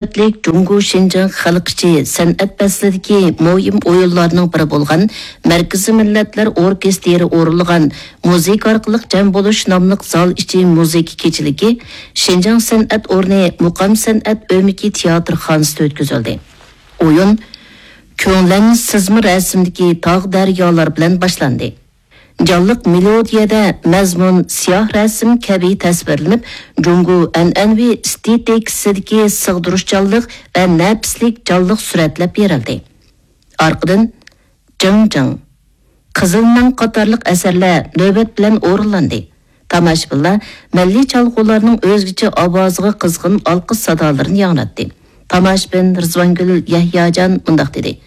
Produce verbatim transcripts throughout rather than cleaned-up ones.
نۆۋەتلىك جۇڭگو شىنجاڭ خەلق ئىچى سەنئەت پەسلىدىكى مۇھىم ئويۇنلارنىڭ بىرى بولغان مەركىزىي مىللەتلەر ئوركېستىرى ئورۇنلىغان مۇزىكا ئارقىلىق جەم بولۇش ناملىق زال ئىچى مۇزىكا كېچىلىكى شىنجاڭ سەنئەت ئورنى مۇقام سەنئەت ئۆمىكى تىياتىرخانىسىدا ئۆتكۈزۈلدى. ئويۇن كۆڭلەن سىزما رەسىمدىكى تاغ دەريالار بىلەن باشلاندى. جانلىق مېلودىيەدە مەزمۇن سىياھ رەسىم كەبى تەسۋىرلىنىپ، جۇڭگو ئەنئەنىۋى ئېستېتىكىسىدىكى سىغدۇرۇشچانلىق ۋە نەپىسلىك جانلىق سۈرەتلەپ بېرىلدى. ئارقىدىن جىڭ جىڭ، قىزىل مەڭ قاتارلىق ئەسەرلەر نۆۋەت بىلەن ئورۇنلاندى. تاماشىبىنلار مىللىي چالغۇلارنىڭ ئۆزگىچە ئاۋازىغا قىزغىن ئالقىش سادالىرىنى ياڭراتتى. تاماشىبىن رىزۋانگۈل يەھياجان مۇنداق دېدى: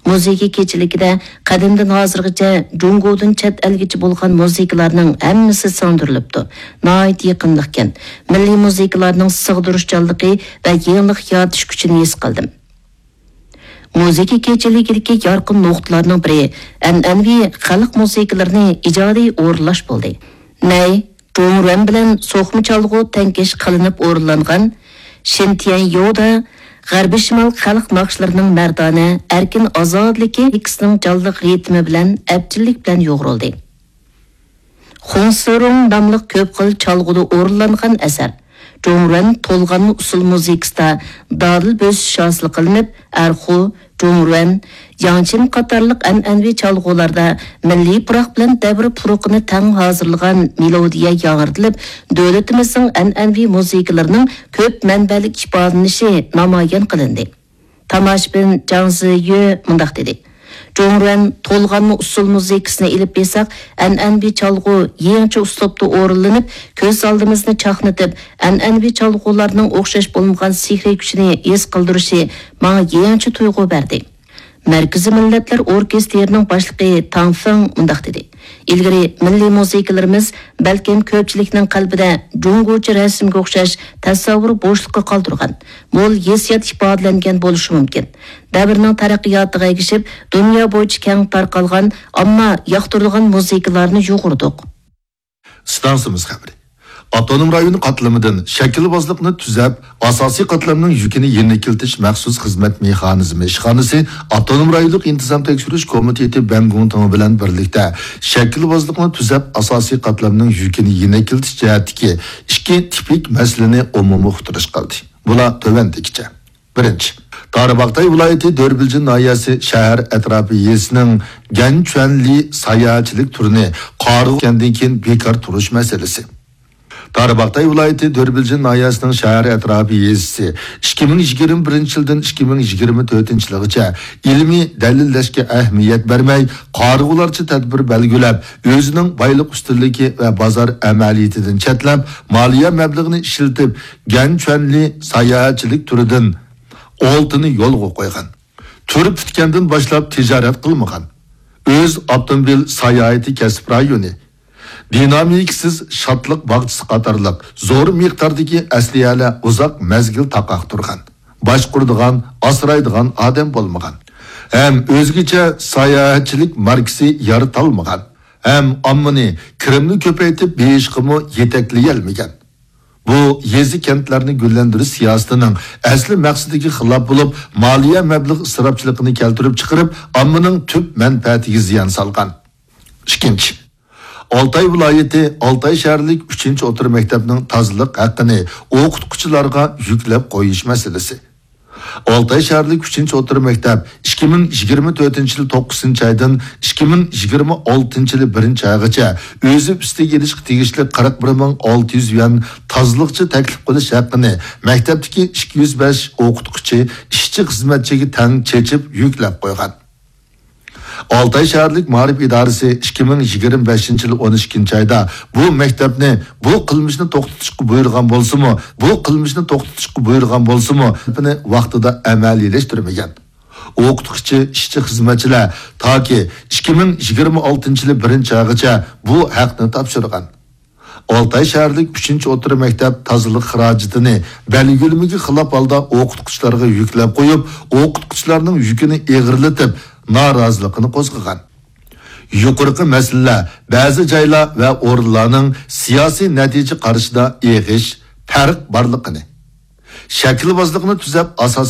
مۇزىكا كېچىلىكىدە قەدىمدىن ھازىرغىچە جۇڭگودىن چەت ئەلگىچە بولغان مۇزىكىلارنىڭ ھەممىسى سىڭدۈرۈلۈپتۇ. ناھايىتى يېقىملىقكەن. مىللىي مۇزىكىلارنىڭ سىغدۇرۇشچانلىقى ۋە يېڭىلىق يارىتىش كۈچىنى ھېس قىلدىم. مۇزىكا كېچىلىكىدىكى يارقىن نۇقتىلارنىڭ بىرى ئەنئەنىۋى خەلق مۇزىكىلىرىنى ئىجادىي ئورۇنلاش بولدى. نەي، جۇڭرۈەن بىلەن سوقما چالغۇ تەڭكەش قىلىنىپ ئورۇنلانغان شىنتيەنيودا غەربىي شىمال خەلق ناخشىلىرىنىڭ مەردانە، ئەركىن ئازادىلىكى ئىككىسىنىڭ جانلىق رىتىمى بىلەن ئەپچىللىك بىلەن يۇغۇرۇلدى. خۇڭسىرۇڭ ناملىق كۆپ خىل چالغۇدا ئورۇنلانغان ئەسەر. جۇڭرۈەن تولغانما ئۇسسۇل مۇزىكىسىدا دادىل بۆسۈش ھاسىل قىلىنىپ، ئەرخۇ، جۇڭرۈەن، ياڭچىن قاتارلىق ئەنئەنىۋى چالغۇلاردا مىللىي پۇراق بىلەن دەۋر پۇرىقىنى تەڭ ھازىرلىغان مېلودىيە ياڭرىتىلىپ، دۆلىتىمىزنىڭ ئەنئەنىۋى مۇزىكىلىرىنىڭ كۆپ مەنبەلىك ئىپادىلىنىشى نامايان قىلىندى. تاماشىبىن جاڭ زىيۆ مۇنداق دېدى: جۇڭرۈەن تولغانما ئۇسسۇل مۇزىكىسىنى ئېلىپ بېرساق، ئەنئەنىۋى چالغۇ يېڭىچە ئۇسلۇبتا ئورۇنلىنىپ، كۆز ئالدىمىزنى چاقنىتىپ، ئەنئەنىۋى چالغۇلارنىڭ ئوخشاش بولمىغان سېھرىي كۈچىنى ھېس قىلدۇرۇشى ماڭا يېڭىچە تۇيغۇ بەردى. مەركىزىي مىللەتلەر ئوركېستىرىنىڭ باشلىقى تاڭ فېڭ مۇنداق دېدى: ئىلگىرى مىللىي مۇزىكىلىرىمىز بەلكىم كۆپچىلىكنىڭ قەلبىدە جۇڭگوچە رەسىمگە ئوخشاش تەسەۋۋۇر بوشلۇقى قالدۇرغان، مول ھېسسىيات ئىپادىلەنگەن بولۇشى مۇمكىن. دەۋرنىڭ تەرەققىياتىغا ئەگىشىپ، دۇنيا بويىچە كەڭ تارقالغان، ئامما ياقتۇرىدىغان مۇزىكىلارنى يۇغۇردۇق. ئىستانسىمىز خەۋىرى. ئاپتونوم رايون قاتلىمىدىن شەكىلۋازلىقنى تۈزەپ، ئاساسىي قاتلامنىڭ يۈكىنى يېنىكلىتىش مەخسۇس خىزمەت مېخانىزمى ئىشخانىسى ئاپتونوم رايونلۇق ئىنتىزام تەكشۈرۈش كومىتېتى بەنگۇڭتىڭى بىلەن بىرلىكتە شەكىلۋازلىقنى تۈزەپ، ئاساسىي قاتلامنىڭ يۈكىنى يېنىكلىتىش جەھەتتىكى ئىككى تىپىك مەسىلىنى ئومۇمىي ئۇقتۇرۇشقا ئالدى. بۇلار تۆۋەندىكىچە. بىرىنچى، تارباغاتاي ۋىلايىتى دۆربىلجىن ناھىيەسى شەھەر ئەتراپى يېزىسىنىڭ گەنچۈەنلى ساياھەتچىلىك تۈرىنى قارىغۇ كەندىن كېيىن بىكار تۇرۇش مەسىلىسى. تارباغاتاي ۋىلايىتى دۆربىلجىن ناھىيەسىنىڭ شەھەر ئەتراپى يېزىسى ئىككى مىڭ يىگىرمە بىرىنچى يىلدىن ئىككى مىڭ يىگىرمە تۆتىنچى يىلغىچە ئىلمىي دەلىللەشكە ئەھمىيەت بەرمەي، قارىغۇلارچە تەدبىر بەلگىلەپ، ئۆزىنىڭ بايلىق ئۈستۈنلۈكى ۋە بازار ئەمەلىيىتىدىن چەتلەپ، مالىيە مەبلىغىنى ئىشلىتىپ، گەنچۈەنلى ساياھەتچىلىك تۈرىدىن ئالتىنى يولغا قويغان. تۈر پۈتكەندىن باشلاپ تىجارەت قىلمىغان. ئۆز ئاپتوموبىل ساياھىتى كەسىپ رايونى، دىنامىكىسىز شادلىق باغچىسى قاتارلىق زور مىقداردىكى ئەسلىھەلەر ئۇزاق مەزگىل تاقاق تۇرغان. باشقۇرىدىغان، ئاسرايدىغان ئادەم بولمىغان. ھەم ئۆزگىچە ساياھەتچىلىك ماركىسى يارىتالمىغان. ھەم ئاممىنى كىرىمنى كۆپەيتىپ بېيىشقىمۇ يېتەكلىيەلمىگەن. بۇ يېزا كەنتلەرنى گۈللەندۈرۈش سىياسىتىنىڭ ئەسلى مەقسىتىگە خىلاپ بولۇپ، مالىيە مەبلىغ ئىسراپچىلىقىنى كەلتۈرۈپ چىقىرىپ، ئاممىنىڭ تۈپ مەنپەئەتىگە زىيان سالغان. ئىككىنچى، ئالتاي ۋىلايىتى ئالتاي شەھەرلىك ئۈچىنچى ئوتتۇرا مەكتەپنىڭ تازىلىق ھەققىنى ئوقۇتقۇچىلارغا يۈكلەپ قويۇش مەسىلىسى. ئالتاي شەھەرلىك ئۈچىنچى ئوتتۇرا مەكتەپ ئىككى مىڭ يىگىرمە تۆتىنچى يىل توققۇزىنچى ئايدىن ئىككى مىڭ يىگىرمە ئالتىنچى يىل بىرىنچى ئايغىچە ئۆزى ئۈستىگە ئېلىشقا تېگىشلىك قىرىق بىر مىڭ ئالتە يۈز يۈەن تازىلىقچى تەكلىپ قىلىش ھەققىنى مەكتەپتىكى ئىككى يۈز بەش ئوقۇتقۇچى، ئىشچى، خىزمەتچىگە تەڭ چېچىپ يۈكلەپ قويغان. ئالتاي شەھەرلىك مائارىپ ئىدارىسى ئىككى مىڭ يىگىرمە بەشىنچى يىل ئون ئىككىنچى ئايدا بۇ مەكتەپنى بۇ قىلمىشنى توختىتىشقا بۇيرۇغان بولسىمۇ، بۇ قىلمىشنى توختىتىشقا بۇيرۇغان بولسىمۇ، ۋاقتىدا ئەمەلىيلەشتۈرمىگەن. ئوقۇتقۇچى، ئىشچى، خىزمەتچىلەر تاكى ئىككى مىڭ يىگىرمە ئالتىنچى يىلى بىرىنچى ئايغىچە بۇ ھەقنى تاپشۇرغان. ئالتاي شەھەرلىك ئۈچىنچى ئوتتۇرا مەكتەپ تازىلىق خىراجىتىنى بەلگىلىمىگە خىلاپ ھالدا ئوقۇتقۇچىلارغا يۈكلەپ قويۇپ، ئوقۇتقۇچىلارنىڭ يۈكىنى ئېغىرلىتىپ، نارازىلىقىنى قوزغىغان. يۇقىرىقى مەسىلىلەر بەزى جايلار ۋە ئورۇنلارنىڭ سىياسىي نەتىجە قارىشىدا ئېغىش، پەرق بارلىقىنى، شەكىلۋازلىقنى تۈزەپ، ئاساس